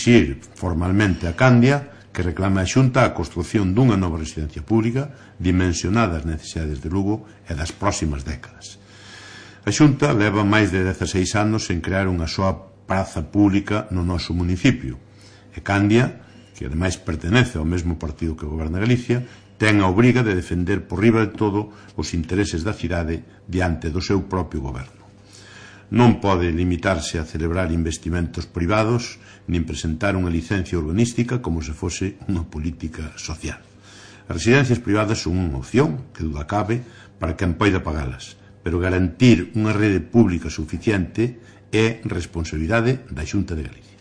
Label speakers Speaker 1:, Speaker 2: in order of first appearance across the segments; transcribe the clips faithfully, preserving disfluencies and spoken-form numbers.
Speaker 1: exixir formalmente a Candia que reclame a Xunta a construción dunha nova residencia pública dimensionada ás necesidades de Lugo e das próximas décadas. A Xunta leva máis de dezaseis anos en crear unha soa praza pública no noso municipio e Candia, que ademais pertenece ao mesmo partido que goberna Galicia, ten a obriga de defender por riba de todo os intereses da cidade diante do seu propio goberno. Non pode limitarse a celebrar investimentos privados nin presentar unha licencia urbanística como se fose unha política social. As residencias privadas son unha opción, que duda cabe, para quen poida pagalas, pero garantir unha rede pública suficiente é responsabilidade da Xunta de Galicia.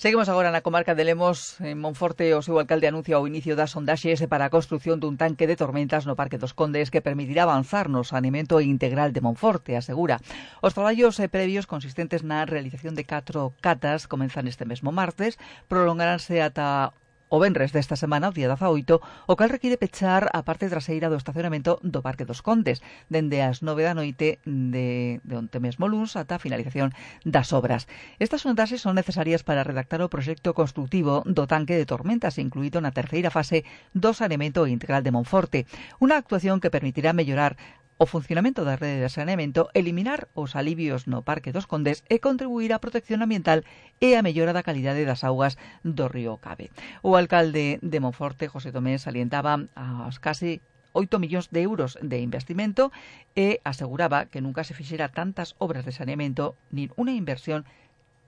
Speaker 2: Seguimos agora na comarca de Lemos. En Monforte, o seu alcalde anuncia o inicio das sondaxes para a construción dun tanque de tormentas no Parque dos Condes que permitirá avanzar no saneamento integral de Monforte, asegura. Os traballos previos consistentes na realización de catro catas comenzan este mesmo martes, prolongaránse ata o venres desta semana, o día dezaoito, o cal require pechar a parte traseira do estacionamento do Parque dos Condes, dende as nove da noite de, de onte mesmo luns ata a finalización das obras. Estas sondaxes son necesarias para redactar o proxecto construtivo do tanque de tormentas, incluído na terceira fase do saneamento integral de Monforte, unha actuación que permitirá mellorar o funcionamento da rede de saneamento, eliminar os alivios no Parque dos Condes e contribuir á protección ambiental e á mellora da calidade das augas do río Cabe. O alcalde de Monforte, José Tomé, salientaba as casi oito millóns de euros de investimento e aseguraba que nunca se fixera tantas obras de saneamento nin unha inversión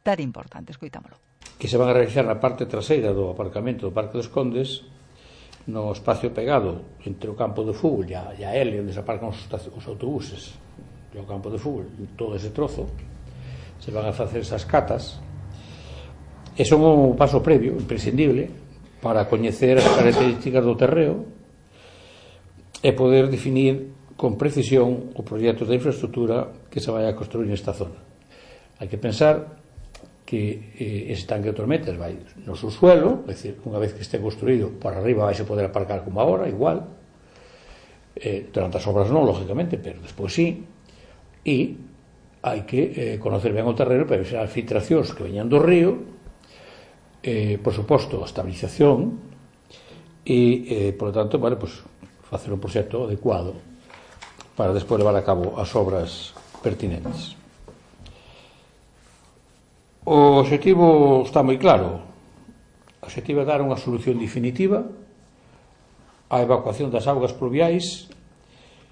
Speaker 2: tan importante. Escoitámolo.
Speaker 3: Que se van a realizar na parte traseira do aparcamento do Parque dos Condes, no espacio pegado entre o campo de fútbol e a, e a L, onde se aparcan os, os autobuses, e o campo de fútbol, todo ese trozo, se van a facer esas catas, e son un paso previo, imprescindible, para coñecer as características do terreo e poder definir con precisión o proxecto de infraestructura que se vai a construir nesta zona. Hai que pensar que eh, ese tanque de tormentas vai no subsuelo, é dicir, unha vez que este construído por arriba vai se poder aparcar como agora, igual, eh, durante as obras non, lógicamente, pero despois sí, e hai que eh, conocer ben o terreno para ver as filtracións que veñan do río, eh, por suposto, a estabilización, e, eh, por lo tanto, vale, pues, facer un proxecto adecuado para despois levar a cabo as obras pertinentes. O obxectivo está moi claro. O obxectivo é dar unha solución definitiva á evacuación das augas pluviais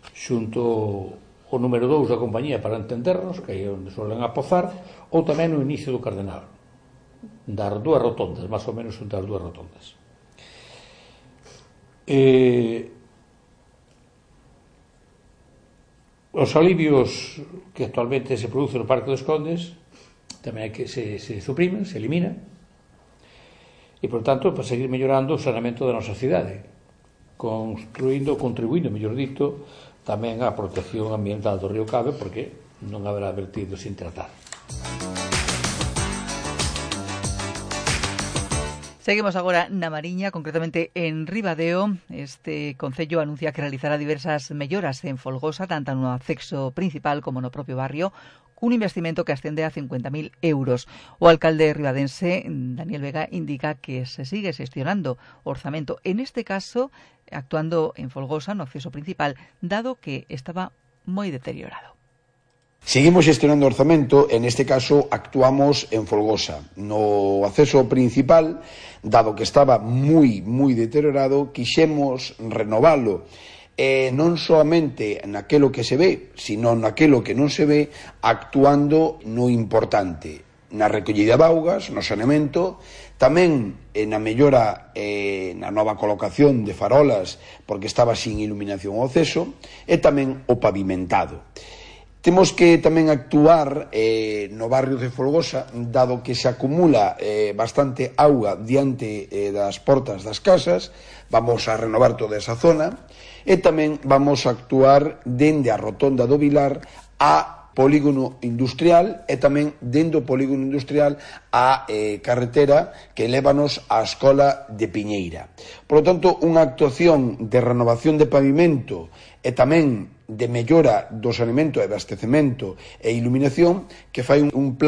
Speaker 3: xunto o número dous da compañía para entendernos, que é onde solen apozar, ou tamén no inicio do Cardenal, das dúas rotondas, máis ou menos das dúas rotondas. Eh, os alivios que actualmente se producen no Parque dos Condes tamén hai que se, se suprimen, se elimina, e, por tanto, para seguir mellorando o saneamento da nosa cidade, construindo, contribuindo, mellor dito, tamén á protección ambiental do río Cabe, porque non haberá vertidos sin tratar.
Speaker 2: Seguimos agora na Mariña, concretamente en Ribadeo. Este concello anuncia que realizará diversas melloras en Folgosa, tanto no acceso principal como no propio barrio, un investimento que ascende a cincuenta mil euros. O alcalde ribadense, Daniel Vega, indica que se sigue xestionando o orzamento, en este caso actuando en Folgosa, no acceso principal, dado que estaba moi deteriorado.
Speaker 4: Seguimos xestionando o orzamento, en este caso actuamos en Folgosa. No acceso principal, dado que estaba moi, moi deteriorado, quixemos renovalo, e non soamente naquelo que se ve, sino naquelo que non se ve, actuando no importante, na recollida de augas, no saneamento, tamén na mellora, eh, na nova colocación de farolas, porque estaba sin iluminación ao acceso, e tamén o pavimentado. Temos que tamén actuar eh, no barrio de Folgosa, dado que se acumula eh, bastante auga diante eh, das portas das casas, vamos a renovar toda esa zona, e tamén vamos a actuar dende a rotonda do Vilar a polígono industrial e tamén dende o polígono industrial a eh, carretera que lévanos á escola de Piñeira. Por lo tanto, unha actuación de renovación de pavimento e tamén de mellora do saneamento e abastecemento e iluminación que fai un, un plan